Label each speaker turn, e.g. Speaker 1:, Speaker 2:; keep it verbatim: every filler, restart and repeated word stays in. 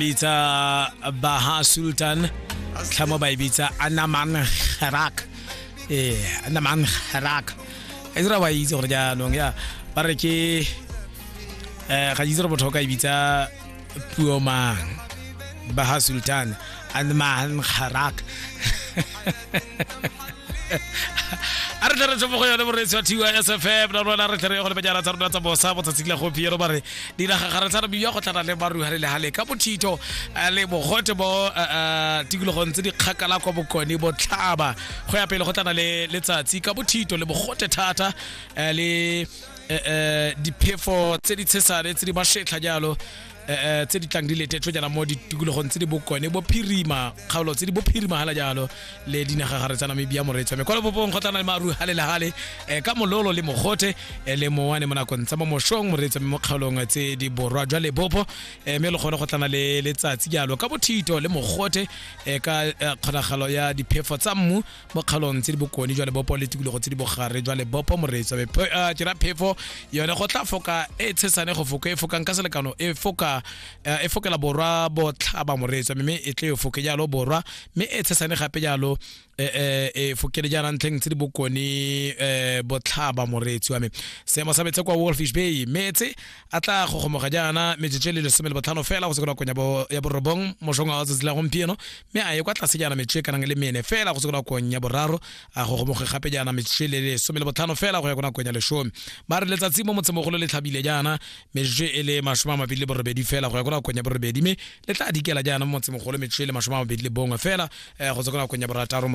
Speaker 1: Bitsa Baha Sultan, tlhamo ba e bitsa Anaman Gerak. Ee, Anaman Gerak e dira wa itse gore jaanong ya ba re ke um ga itse gore motho o ka e bitsa puo mang. Baha Sultan, Anaman Gerak. A re tle re tshopo go yone, moreetsi wa T Y S F M na rona. Re tle re ye go lebejana tsa rona tsa bosa botsatsing la gompieno. Ba re dinagagare tsa Namibia go tlana le maru le gale ka bothito eh, le mogote mo eh, eh, tikologong tse di kgakala kwa bokone botlhaba. Go ya pele go tlana le letsatsi ka bothito le mogote thata eh, le eh, eh, diphefo tse di tshesane tse di mashetlha jalo eh, eh, tse di tlang di letetswe jaana mo ditikologong tse di bokone bophirima, kgaolo tse di bophirima hala jalo le dinagagare tsa Namibia. Moreetsi wa me, kwa lebopong go tlana le maru gale le gale eh, ka mololo le mogote eh, le mowane mo nakong tsa mo mošong, moreetsi wa me, mo kgaolong tse di borwa jwa lebopo eh, mme le gone go tlana le letsatsi jalo ka bothito le mogote eh, ka eh, kgonagalo ya diphefo tsa mmu mo kgaolong tse di bokone jwa lebopo le tikologo tse di bogare jwa lebopo. Moreetsi wa me, Phe- eh, ke ra phefo yone go tla foka e tshesane go foka e fokang ka selekano e foka eh, e fokela borwa botlhaba, moreetsi wa me, mme e tle e foke jalo borwa, mme e tshesane gape jalo e e e fokele jaana ntlheng tse di bokone eh, botlhaba. Moreetsi wa me, seemo sa metsi kwa Wolfish Bay, metse a tla gogomoga jaana metsotso e le lesome le botlhano fela go se ko nakong ya bo- ya borobong mošong wa tsatsi la gompieno, mme a ye kwa tlase jaana metsotso e kanang le mene fela go se ko nakong ya boraro, a gogomoge gape jaana metsotso e le lesome le botlhano fela go ya ko nakong ya lesome. Ba re letsatsi mo motsemogolo le tlhabile jaana metsotso e le masome a mabedi le borobedi fela go ya ko nakong ya borobedi, mme le tla dikela jaana mo motsemogolo metsotso e le masome a mabedi le bongwe fela eh, go tswa ko nakong ya borataro.